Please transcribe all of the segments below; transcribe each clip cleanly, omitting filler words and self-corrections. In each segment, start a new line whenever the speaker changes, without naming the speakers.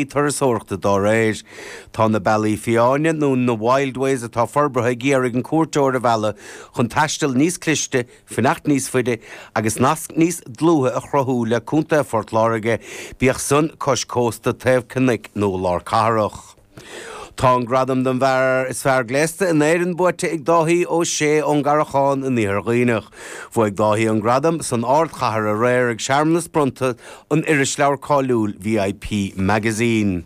Turasóireachta dá réir. Tá na Bealaí Fiáine, nó na Wildways atá forbartha ag iarraidh an cuairteoir a mhealladh chun taisteal níos cliste, fanacht níos faide agus nasc níos dlúithe a chruthú le Contae Phort Láirge, bíodh san cois cósta, taobh cnoic nó lár cathrach. Tá an gradam don bhfear is fearr gléasta in Éirinn buaite ag Dáithí Ó Sé ón gCarrachán in Iarthar Dhuibhneach. Bhuaigh Dáithí an gradam san ardchathair aréir ag searmanas bronnta an irisleabhair cáiliúil VIP Magazine.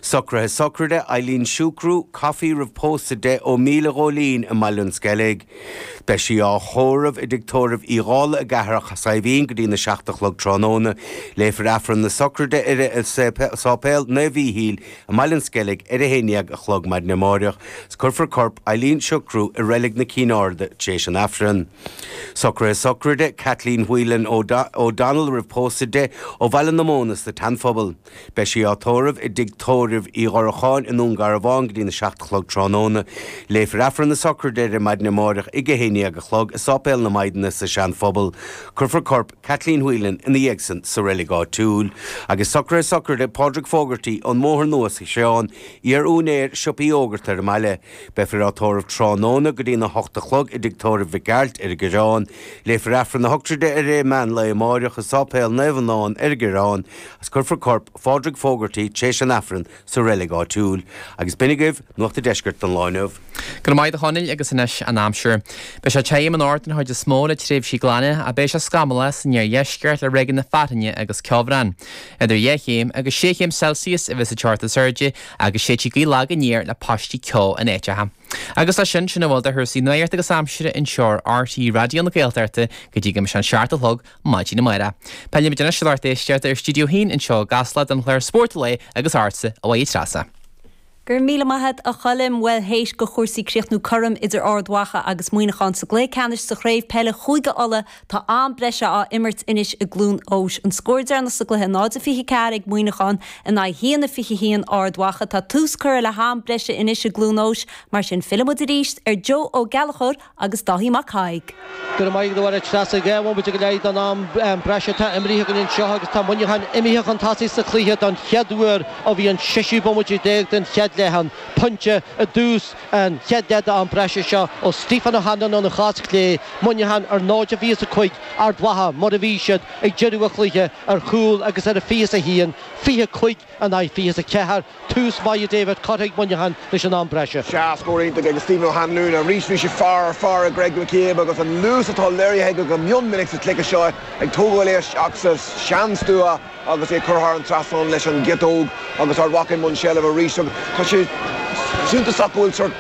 Socruithe sochraide Eileen Siúcrú, Coffey roimh pósadh di ó Míle Ghóilín i mBaile an Sceilg. Beidh sí á thórramh i dtigh tórraimh Uí Dhálaigh i gCeathrach Saidhbhín go dtí na 7 a chlog tráthnóna. Léifear Aifreann na sochraide uirthi i Sáipéal Naomh Mhíchíl i mBaile an Sceilg ar a 11 a chlog maidin amáireach. Cuirfear corp Eileen Siochrú i Reilig na Cinn Airde tar éis an Aifrinn. Socruithe sochraide Kathleen Whelan O'Donnell roimh pósadh di ó Bhaile na Móna sa tSeanphobal. Beidh sí á tórramh i dtigh tórraimh Uí Dhoracháin i nDún Garbhán go dtína 7 a chlog tráthnóna. Léifear Aifreann na sochraide uirthi maidin amáireach ag 11 a chlog i Sáipéal na Maighdine sa Seanphobal. Cuirfear corp Kathleen Whelan ina dhiaidh san sa reilig áitiúil. Agus socruithe sochraide Pádraig Fogarty ón mBóthar Nua sa Chreán, iar-úinéir siopaí iógart ar an mbaile. Beifear á tórramh tráthnóna go dtína hocht a chlog i dtigh tórraimh Mhic Gearailt ar an gCoireán. Léifear Aifreann na sochraide uirthi meán lae amáireach i Sáipéal Naomh Adhamhnán ar an gCoireán agus cuirfear corp Phádraig Fogarty tréis an Aifrinn sa reilig áitiúil. Agus b'in agaibh Nuacht an Deiscirt don lá inniu.
Go raibh maith agat a Chonaill agus anois an aimsir. Beidh sé tirim anocht den chuid is mó le tréimhsí glana ach beidh sé scamallach san iardheisceart le ráigeanna fearthainne agus ceobhrán. Idir 2 chéim agus 6 chéim Celsius a bheas an teocht is airde agus séidfidh gaoth lag aniar le paistí ceo in áiteacha. Agus leis sin, sin a bhfuil de chúrsaí nuachta agus aimsire anseo ar RTÉ Raidió na Gaeltachta go dtí go mbeidh sé an 7 a chlog maidin amárach. Pillfimid anois ar lucht éisteachta ar Stiúideo 1 anseo i gCasla don chlár Spórt an Lae agus ortsa, a Mháire Treasa.
Go raibh míle maith a't a Choilm. Bhuel théis do chúrsaí críochnú cothrom idir Ard Mhacha agus Muineachán sa gcluiche ceannais sa chraobh peile Chúige Uladh Tá am breise á imirt anois i gCluain Eois. An scór deireanach sa gcluiche 0-24 ag Muineachán in aghaidh 1-21 Ard Mhacha. Tá tús curtha le ham breise anois i gCluain Eois. Mar sin fillfidh muid arís ar Joe Ó Gallchóir agus Dáithí Mac Thaidhg.
Go raibh maith agat a Mháire Treasa. 2 bhomaite go leith don am breise atá imrithe againn anseo agus tá Muineachán imithe chun tosaigh sa chluiche don chéad uair ó bhí an seisiú bomaite déag den chéad leath ann. Pointe i dtús an chéad leath d'am breise seo ó Stephen O'Hanlon óna chos chlé. Muineachán ar 0-25, Ard Mhacha mar a bhí siad ag deireadh an chluiche ar chúl agus ar a 21, 25 in aghaidh 24. Tús maith a David curtha ag Muineachán leis an am breise.
Sea, scór iontach ag Stephen O'Hanlon arís. Bhí sé fear ar fear ag Greg McCabe agus an luas atá léirithe aige go mion minic sa chluiche seo ag tógáil é isteach sa seanstua. agus é curtha thar an trasnán leis an gciotóg agus Ard Mhacha i mbun seilbhe arís agus tá sé suntasach go bhfuil sórt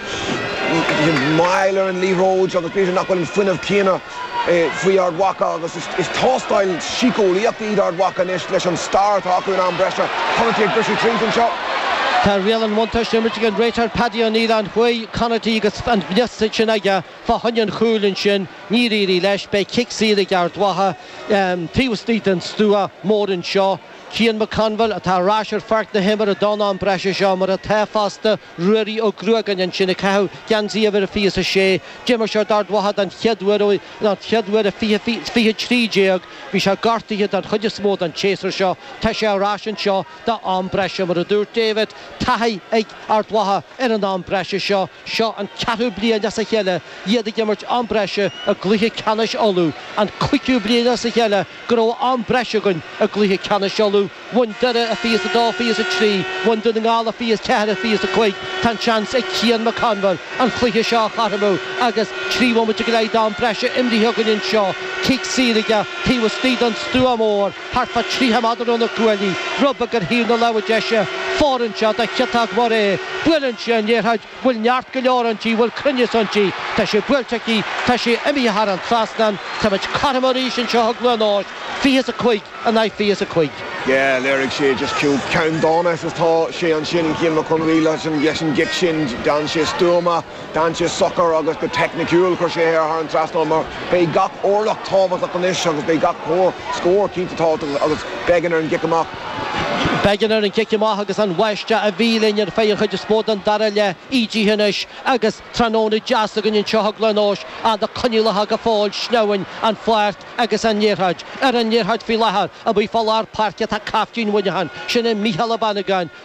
moill ar an liathróid agus b'fhéidir nach bhfuil an fuinneamh céanna faoi Ard Mhacha agus is tástáil síceolaíochta iad Ard Mhacha anois leis an stair atá acu in am breise. Connarty ag briseadh tríd anseo.
Tá riail an bhuntáiste á imirt ag an réiteoir Paddy Ó Nialláin. Chuaigh Connarty agus an mhias sin aige fá choinne an chúil ansin. Níor éirigh leis. Beidh cic saor ag Ard Mhacha taobh istigh den stua mór anseo. Cian McConville atá ar ais ar pháirc na himeartha don am breise seo, mar atá fosta Ruairí Ó Gruagáin ansin ag caitheamh geansaí uimhir a 26. D'imir sé d'Ard Mhacha den chéad uair ó den chéad uair i 2013. Bhí sé gortaithe den chuid is mó den tséasúr seo. Tá sé ar ais anseo do am breise. Mar a dúirt David, taithí ag Ard Mhacha ar an am breise seo. Seo an ceathrú bliain as a chéile iad ag imirt am breise i gcluiche ceannais Uladh, an cúigiú bliain as a chéile go raibh am breise againn i gcluiche ceannais Uladh. Bhain Doire i 22, 23, bhain Dún na nGall i 24, 25. Tá an seans ag Cian McConville an cluiche seo a chothromú agus 3 bhomaite go leith d'am breise imrithe againn anseo. Cic saor aige taobh istigh den stua mór, thart fá 30 méadar ó na cuaillí, rud beag ar thaobh na láimhe deise. Fóireann sé do chiotóg mhór é. Buaileann sé an liathróid, bhfuil neart go leor inti, bhfuil cruinneas inti. Tá sé buailte aici, tá sé imithe thar an trasnán. Táimid cothrom arís anseo i gCluain Eois, 25 in aghaidh 25.
Yeah, léirigh sé just ceann dána is atá sé ansin, Cian McConville leis an gcic sin, d'fhan sé stuama. D'fhan sé socair agus go teicniciúil chuir sé é thar an trasnán mar beidh gach orlach tábhachtach anois agus beidh gach scór cinnte tábhachtach agus Beggan ar an gcic amach.
Beggan ar an gcic amach agus an bháisteach a bhí linn ar feadh an chuid is mó den dara leath ídithe anois agus tráthnóna deas againn anseo i gCluain Eois ach na coinníollacha go fóill sneamhain an pháirc agus an liathróid ar an liathróid faoi láthair amuigh fá lár páirce tá caiftín Mhuineacháin, sin é Mícheál Ó Bannagáin.